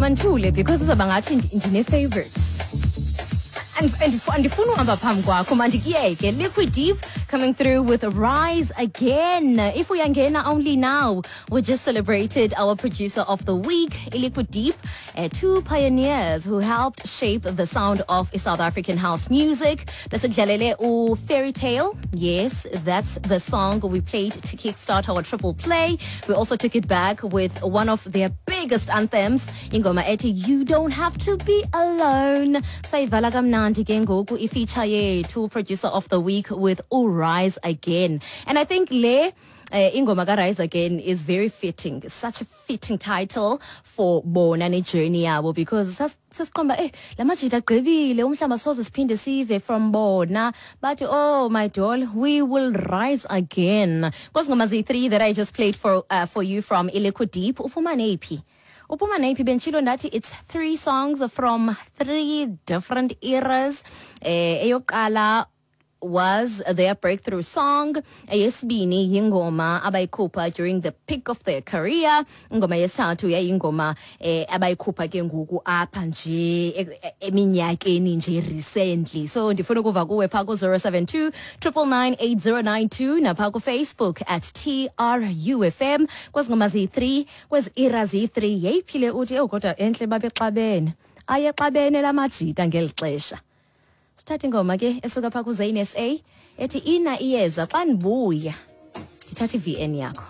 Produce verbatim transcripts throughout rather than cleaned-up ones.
Mandithule because izawuba ngathi ndine-favorite. Andifuni uhamba phambi kwakho, mandikuyeke. Liquid Deep coming through with Rise Again. If uyangena only now, we just celebrated our producer of the week, Liquid Deep, uh, two pioneers who helped shape the sound of South African house music. Besikudlalele u Fairy Tale. Yes, that's the song we played to kickstart our triple play. We also took it back with one of their biggest anthems, ingoma ethi You Don't Have to Be Alone. Sayivala kamnandi ke ngoku ifeature yethu producer of the week with Rise Again. And I think le uh, ingoma ka Rise Again is very fitting. Such a fitting title for bona ne journey yabo because sasiqomba eh lamajita agqibile umhlamba soze siphinde sive from bona, but oh my doll, we will rise again. Kwezi ngoma ziyi-three that I just played for uh, for you from Iliquid Deep, uphuma neyiphi? Uphuma neyiphi? Benditshilo ndathi it's three songs from three different eras. Eh eyokuqala was their breakthrough song. Eyesibini yingoma abayikhupha during the peak of their career. Ingoma yesithathu yayingoma eh abayikhupha ke ngoku apha nje eminyakeni nje recently. So ndifuna ukuva kuwe pha ku zero seven two nine nine nine eight zero nine two napha ku Facebook at T R U F M. Kwezi ngoma ziyi-three, kwezi era ziyi-three, yeyiphi le uthi ewu kodwa entle babexabene, ayexabene lamajita ngeli xesha? Sithatha ingoma ke esuka phaa kuZane S A ethi Ina Iyeza. Xa ndibuya ndithatha i-V N yakho,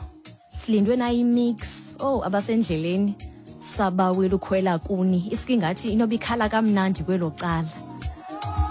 silindwe nayi-mix. Oh, abasendleleni, sabawela ukhwela kuni, iske ingathi inoba ikhala kamnandi kwelo cala.